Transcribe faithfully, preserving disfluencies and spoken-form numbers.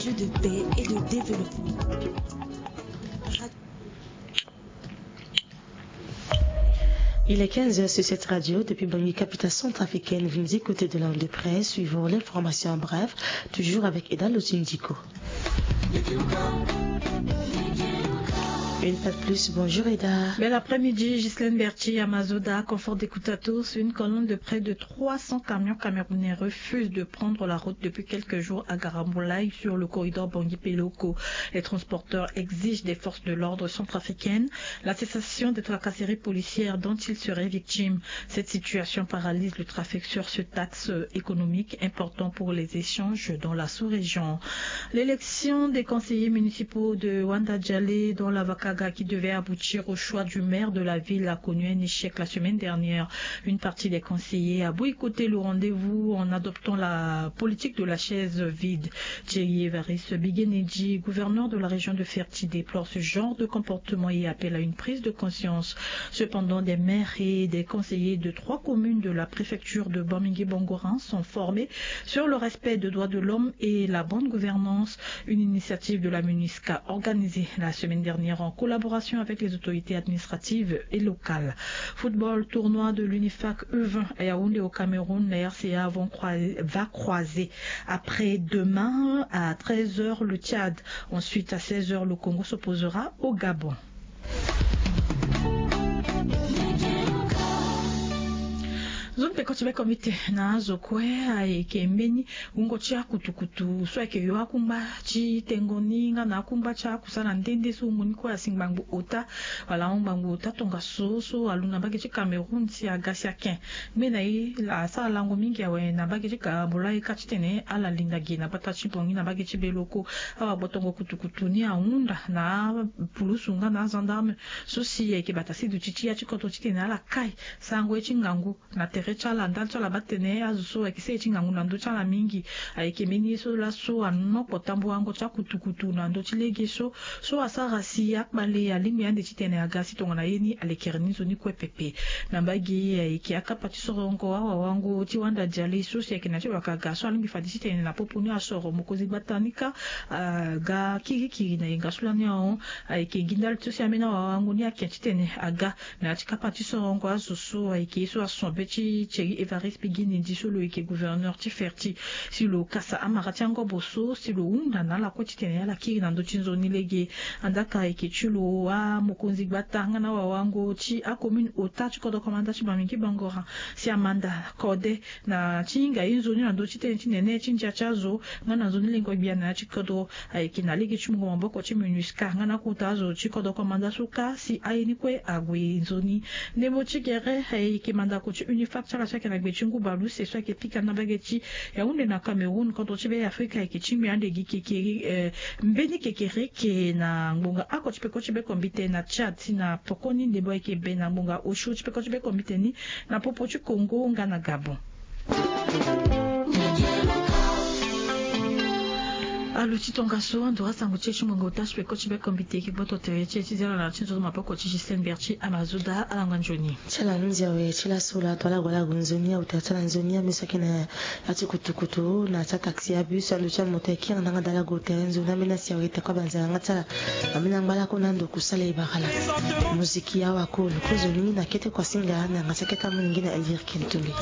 Jeu de paix et de développement. Il est quinze heures sur cette radio. Depuis Bangui, capitale centrafricaine, vous nous écoutez de l'Inde de près. Suivons l'information en bref, toujours avec Eda Lotindiko. Une fois de plus, bonjour Eda. Bel après-midi, Ghislaine Berti, Amazoda, confort d'écoute à tous. Une colonne de près de trois cents camions camerounais refuse de prendre la route depuis quelques jours à Garamboulaye sur le corridor Bangui-Peloko. Les transporteurs exigent des forces de l'ordre centrafricaines la cessation des tracasseries policières dont ils seraient victimes. Cette situation paralyse le trafic sur ce axe économique important pour les échanges dans la sous-région. L'élection des conseillers municipaux de Wanda Djalé dans la Vakaga qui devait aboutir au choix du maire de la ville a connu un échec la semaine dernière. Une partie des conseillers a boycotté le rendez-vous en adoptant la politique de la chaise vide. Thierry Évariste Bigenedji, gouverneur de la région de Ferti, déplore ce genre de comportement et appelle à une prise de conscience. Cependant, des maires et des conseillers de trois communes de la préfecture de Bamingui-Bangoran sont formés sur le respect des droits de l'homme et la bonne gouvernance, une initiative de la MINUSCA organisée la semaine dernière en collaboration avec les autorités administratives et locales. Football, tournoi de l'UNIFAC U vingt à Yaoundé au Cameroun, la R C A vont croiser, va croiser après-demain à treize heures le Tchad. Ensuite, à seize heures, le Congo s'opposera au Gabon. Zo ni peko ti beko mbi tene na azo kue ayeke mbeni wungo ti akutukutu so ayeke yo akungba ti tengo ni nga na akungba ti akusala nde nde so wungo ni kue asi ngbangbo ota wala ahon ngbangbo ota tongaso so alu na mbage ti Cameroun si aga si aken. Ngbene ye asara lango mingi awe na mbage ti Garamboulaye ka titene ala linda gi na gbata ti Bangui na mbage ti Beloko. Awa gbotongo kutukutu ni ahunda na apulusu nga na agendarme so si ayeke bata si duti ti ya ti kodro titene ala kai sarango ye ti ngangu na tere ti ala ndali ti ala baa tene azo so ayeke sere ti ngangu na ndö ti ala mingi. Ayeke mbeni ye so laso anokpo tambuango ti akutukutu na ndö ti lege so so asara si akpale alingbi ande titene aga si tongana ye ni alekere ni nzoni kue pepe. Na mbage ayeke akapa ti sorongo awawango ti Wanda Diale so si ayeke na ti wakaga so alingbi fade titene na popo ni asoro mokonzi gbata ni kâ aga kirikiri na yenga so lani ahon. Ayeke gi ndali ti so si ambeni awawango ni ake titene aga na ya ti kapa ti sorongo azo so ayeke ye so ason be ti Thierry Évariste Biguinedi so lo yeke gouverneur ti Ferti si lo kasa amara ti angobo so si lo hunda na ala kue titene ala kiri na ndö ti nzoni lege. Andaka ayeke ti lo amokonzi gbata nga na awawango ti acommune ota ti kodro komanda ti Bamingui Bangoran si amanda kode na ti hinga ye nzoni na ndö ti tënë ti nene ti ndia ti azo nga na nzoni lengo gbia na ya ti kodro. Ayeke na lege ti mungo maboko ti MINUSCA nga na akota azo ti kodro komanda so kâ si aye ni kue ague nzoni. Ndembo ti gere ayeke mandako ti UNIFAC ti ala so ayeke na gbe ti ngu baleuse so ayeke pika na mbage ti Yaoundé na Cameroun. Kodro ti Be Afrika ayeke tingbi ande gi kekere eh, mbeni kekereke na ngbonga oko ti peko ti beko mbite na Tchad si na pokoni ndembo ayeke be na ngbonga osio ti peko ti beko mbite ni na popo ti Congo nga na Gabon. Alu ti tongaso ando asango ti e ti ngbonga ota ti peko ti beko mbite eke gboto tere ti e ti zi ala na ti nzoni maboko ti Ghislaine Berti Amazoda. Ala nganzoni. Ti ala nunzi awe ti laso la to ala gue ala gue nzoni auta ti ala nzoni ame so ayeke na ya ti kutukutu na ti ataxi abus ando ti amoto ayeke kiri na ndanga dala gue tere nzoni ambeni asi awe teko abanza na yanga ti ala. Ambeni angba lakue na ando kusala e bara ala. Moziki awa kolo kozoni na kete kuasinga na yanga ti akete amolenge na Elvire Kentumbi.